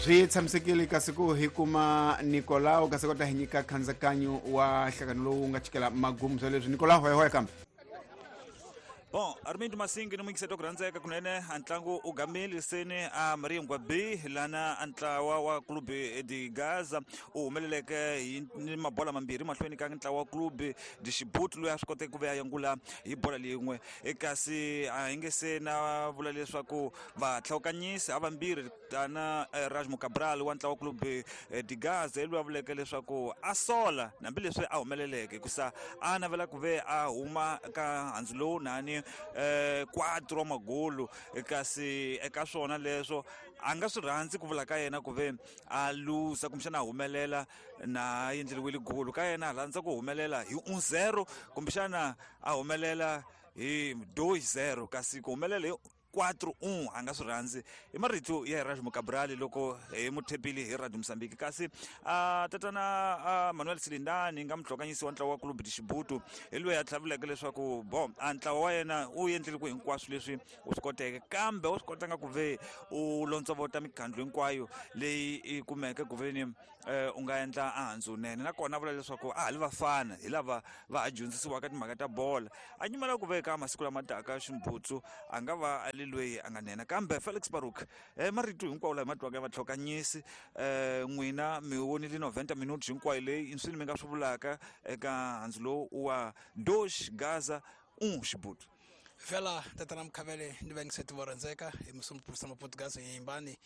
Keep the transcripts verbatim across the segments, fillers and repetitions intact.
Swi tshamisekile kasi ku hi kuma Nicolau kasi kota hi nyika khandzhakanyo wa nhlangano lowu nga chikela magumu swa leswi. Nicolau, hoya hoya kambe. Bon, Armindo Masingi ni muyingiseti ku rhandzeka kunene, a ntlangu u gamile seni a Maria Ngwabi lana a ntlawa wa Clube de Gaza u humeleleke hi ni mabola mambirhi mahlweni ka ntlawa wa Clube de Chibuto loyi a swi koteke ku ve a yangula hi bola leyin'we. Kasi a hi nge se na vula leswaku vatlhawukanyisi a vambirhi tana Rajmo Cabral wa ntlawa wa Clube de Gaza hi loyi a vuleke leswaku a sola hambileswi a humeleleke hikusa a navela ku ve a huma ka handzu lowu nani eh quatro magolo, kasi eka swona leswo a nga swi rhandzi ku vula ka yena ku ve a luza kumbexana a humelela na endleriwile golo ka yena a rhandza ku humelela hi un zero kumbexana a humelela hi dois zero, kasi ku humelela hi quatro un a nga swi rhandzi. I marito ya Erasmo Cabral loko hi muthepile hi Radio Mozambique. Kasi a tatana Manuel Silindani nga muhlokanyisi wa ntlawa wa Clube de Chibuto hi loyi a tlhavuleke leswaku bo a ntlawa wa yena u endlile ku hinkwaswo leswi u swi koteke, kambe u swi kotanga ku ve u lontsovota mikhandlu hinkwayo leyi i kumeke ku ve ni u nga endla a nene. Nakona vula leswaku a ha li vafana hi lava va ha dyondzisiwaka timhaka ta bola, a nyimela ku veka masiku lama taka Ximbutsu a nga va a li loyi a nga nena. Kambe Felix Baruk, eh marito hinkwawo laha ma twaka ya vatlhokanyisi, eh n'wina mi vonile noventa minutes hinkwayo leyi inswini mi nga swi vulaka eka handzu lowu wa dois Gaza un Chibuto. Vela tatana Mkhavele ni vayingiseti vo rhandzeka hi musumupurisa Maportugazi yimbani.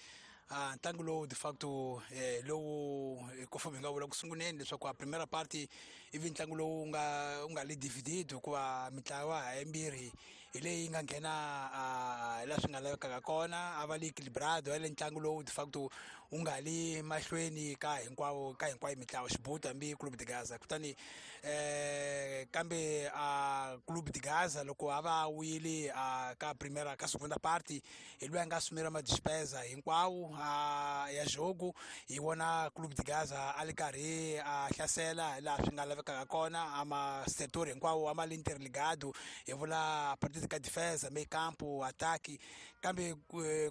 Ah, ntlangu lowu de facto eh, lowu conforme hi nga vula ku sunguleni leswaku a primera parte ivi ntlangu lowu nga u nga le dividido hikuva mitlawa hayimbirhi hi leyi nga nghena a la swi nga lavekaka kona, a va le equilibrado, a le ntlangu lowu de facto u nga li mahlweni ka hinkwavo ka hinkwayo mitlawa Chibuto hambi Clube de Gaza. Kutani eh kambe a Clube de Gaza loko a va wile a ka primera ka segunda parte hi loyi a nga sumira ma despesa hinkwawo a ya jogo, hi vona Clube de Gaza a li karhi a hlasela laha swi nga lavekaka kona, a ma sector hinkwawo a ma le interligado, hi vula partida ka defensa, meio campo, ataque. Kambe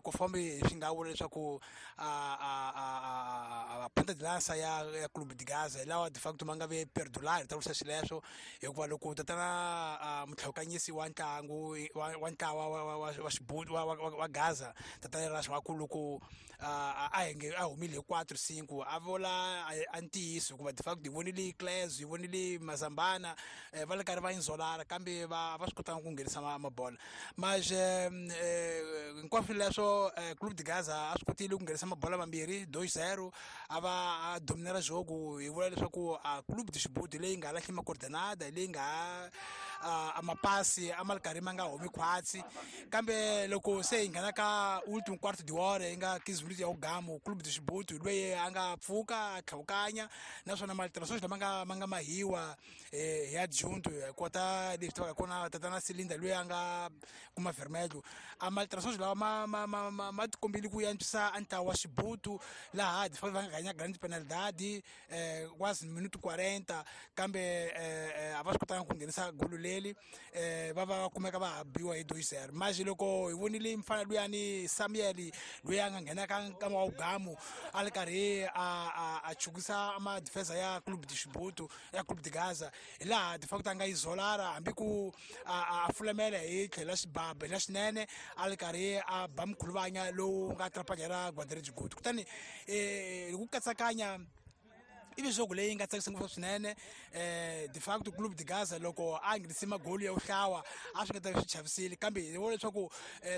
conforme swi nga vula leswaku a a a ponta de lança ya ya Clube de Gaza hi lawa de facto ma nga ve perdular ta vurisa xileswo, hikuva loko tatana mutlhawukanyisi wa ntlangu wa ntlawa wa wa Chibuto wa wa Gaza tatana Raswaku loko a henge a humile hi quatro cinco a vula a ntiyiso, hikuva de facto hi vonile Cles, hi vonile Mazambana va le karhi va inzolara kambe va va swi kotanga ku nghenisa mabola. Mas hinkwaswo leswo Clube de Gaza a swi kotile ku nghenisa mabola mambirhi dois zero, a va a dominera jogo. Hi vula leswaku a Clube de Chibuto leyi nga lahli macoordenada, leyi nga a mapasi a ma ri karhi ma nga humi khwatsi, kambe loko se hi nghena ka ultimo quarto de hora yi nga quinze minutos ya ugamu, Clube de Chibuto loyi a nga pfuka a tlhawukanya, naswona malterações lama nga ma nga mahiwa hi adjunto hi kota leswi tivaka kona tatana Silinda loyi a nga kuma vermelho, a malterações lawa ma ma ma ma ma tikombile ku antswisa a ntlawa wa Chibuto laha de facto va nga ganya grande penalidade eh quase minuto quarenta, kambe eh a va swi kotanga ku nghenisa golo leri eh va va kumeka va biwa hi dois zero. Mas loko hi vonile mfana luyani Samuel loyi a nga nghena ka nkama wa ugamu a ri karhi a a chukisa ma defensa ya Clube de Chibuto ya Clube de Gaza, hi laha de facto a nga izolara hambi ku a fulamela hi tlhelo xibaba la xinene a ri karhi a ba mkhuluvanya lowu nga trapanyela guarda-redes Guto. Kutani eh ku katsakanya ivi jogo leyi nga tsakisa ngopfu swinene eh de facto Clube de Gaza loko a nghenise magoli ya uhlawa a swi nga ta swi chavisile, kambe hi vona leswaku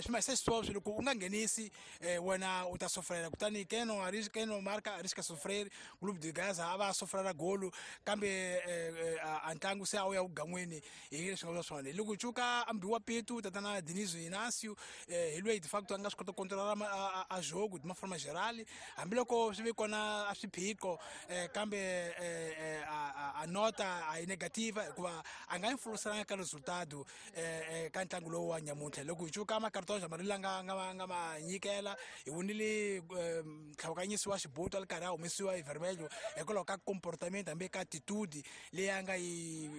swi ma xisweswo loko u nga nghenisi wena u ta sofrela. Kutani keno keno marca arrisca sofrer, Clube de Gaza a va sofrela golo, kambe a ntlangu se a wu ya ugan'weni hi leswi nga vula swona. Hi loko cuka ambiwa pitu tatana Dinizo Inacio hi loyi de facto a nga swi kota ku controlar a jogo de uma forma geral, hambiloko swi ve kona a swiphiqo, kambe a nota a yi negativa hikuva a nga influencelanga ka resultado ka ntlangu lowu wa nyamuntlha. Loko hi cuka makartoza mali la nga nga nga ma nyikela, hi vonile ntlhawukanyisi wa Chibuto a ri karhi a humesiwa hi vermelho hikwalaho ka comportement hambi ka attitude leyi a nga yi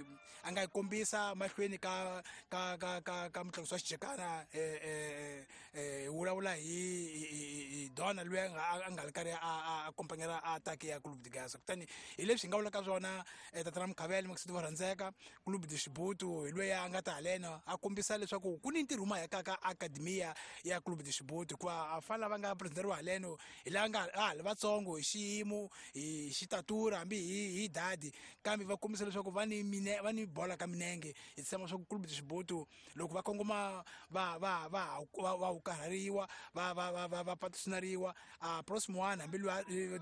a nga yi kombisa mahlweni ka ka ka ka ka mutlangi wa xijekana eh eh vulavula hi Dona loyi a nga ri karhi a accompanyera a attack ya Clube de Gaza. Kutani hi leswi hi nga vulaka swona tatana Mukhavele Makisiti va rhandzeka Clube de Xibutu hi loyi a nga ta haleno a kombisa leswaku ku ni ntirho mahekaka akademiya ya Clube de Xibutu hikuva a fana lava nga presenteriwa haleno hi lava nga a ha li vatsongo hi xiyimo hi xitatura hambi hi hi dadi kambe va kombisa leswaku va ni mine va ni bola ka minenge. Hi tshemba swa ku Clube de Xibutu loko va kongoma va va va va va karhariwa va va va va va patrocinariwa a próximo ano hambi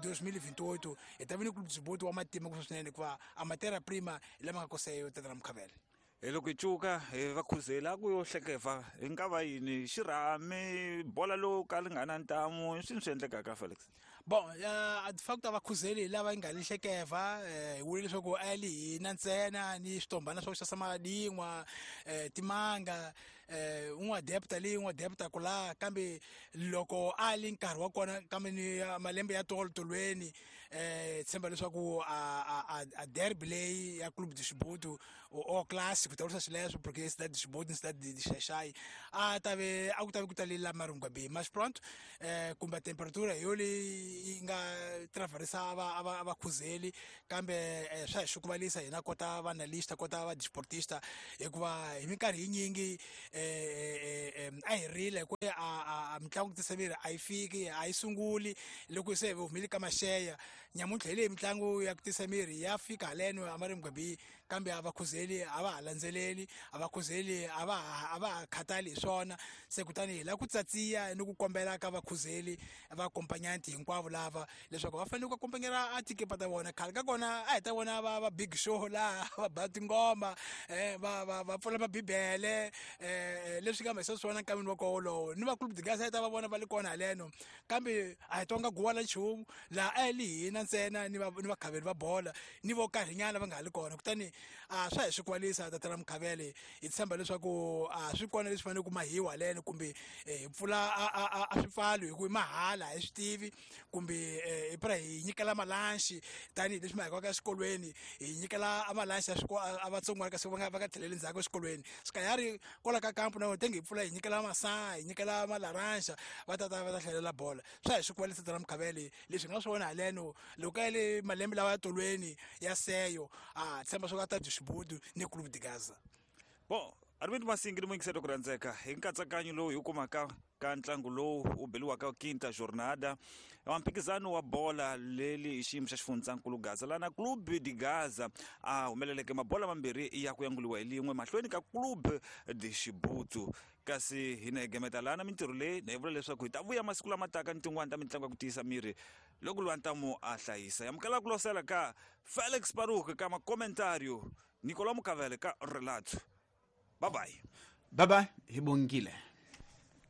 dois mil e vinte e oito hi ta vi ni Clube de Xibutu wa matima ku swinene hikuva a matéria prima hi lama nga koseyo tatana Mukhavele. Hi loko hi cuka hi va khuzela ku yo hlekeva hi nga va yini xirhami bola lowu ka li nga na ntamu i swini swi endlekaka Felix? Bon, uh, de facto a va khuzeli hi lava yi nga li hlekeva hi vule leswaku a li hina ntsena ni switombana swa ku xasa madin'wa timanga un'wa depta leyi un'wa depta ku la kambe loko a li nkarhi wa kona kambe ni malembe ya tolo tolweni eh tshemba leswaku a a a derby leyi ya Clube de Xibutu o clássico ta vurisa swileswo porque cidade de Xibutu ni cidade de Xaxai a ta ve a ku ta ve ku talela Maringwa B mas pronto eh kumbe temperatura hi yo leyi yi nga traversa va va va khuzeli kambe swa hi xukuvalisa hina kota va analysta kota va desportista hikuva hi minkarhi yinyingi eh a hi rile ku a mitlangu tisemiri a yi fiki a yi sunguli loko se hi humile ka maxeya nyamuntlha hi leyi mitlangu ya ku tisa miri ya fika haleno a Maringwa B kambe a va khuzeli a va ha landzeleli a va khuzeli a va a va ha khathali hi swona. Se kutani hi lava ku tsatsiya ni ku kombela ka vakhuzeli va acompanyanti hinkwavo lava leswaku va fanele ku accompanyera a tikepa ta vona. Khale ka kona a hi ta vona va va big show laha va ba tingoma va va va pfula mabibele leswi nga mahisa swona nkamini wa koho wolowo ni va Clube de Gaza hi ta va vona va li kona haleno kambe a hi twanga guwa la nchumu laha a hi li hina ntsena ni va ni vakhaveli va bola ni vo karhinyana va nga ha li kona. Kutani a swa hi swi kwalisa tatana Mukhavele hi tshemba leswaku a swi kona leswi fanele ku mahiwa haleno kumbe hi pfula a a swipfalo hi ku i mahala hi swi tivi kumbe hi pra hi nyikela malanxi tanihileswi ma hikwaka exikolweni hi nyikela a malanxi ya a vatsongwana kasi va nga va nga tlheleli ndzhaku exikolweni sikayari kwala ka kampu na tenge hi pfula hi nyikela masaa hi nyikela malaranja va tata va ta hlalela bola. Swa hi swi kwalisa tatana Mukhavele leswi nga swi vona haleno loko ka le malembe lawa ya tolweni ya seyo a tshemba swo ka ta Xibutu ni Clube de Gaza. Bon, Arvind Masingi ni muyingiseri ku rhandzeka hi nkatsakanyo lowu hi wu kumaka ka ntlangu lowu wu beliwaka quinta jornada wa mphikizano wa bola leli hi xiyimo xa xifundzankulu Gaza lana Clube de Gaza a humeleleke mabola mambirhi ya ku yanguliwa hi lin'we mahlweni ka Clube de Xibutu. Kasi hina hi gemeta lana mintirho leyi na hi vula leswaku hi ta vuya masiku lama taka ni tin'wani ta mitlangu ya ku tiyisa miri loko lwa ntamu a hlayisa. Amukela ku losela ka Felix Paruk ka makomentario, Nicolau Mukavele ka relato. Bye bye. Bye bye, hi bongile.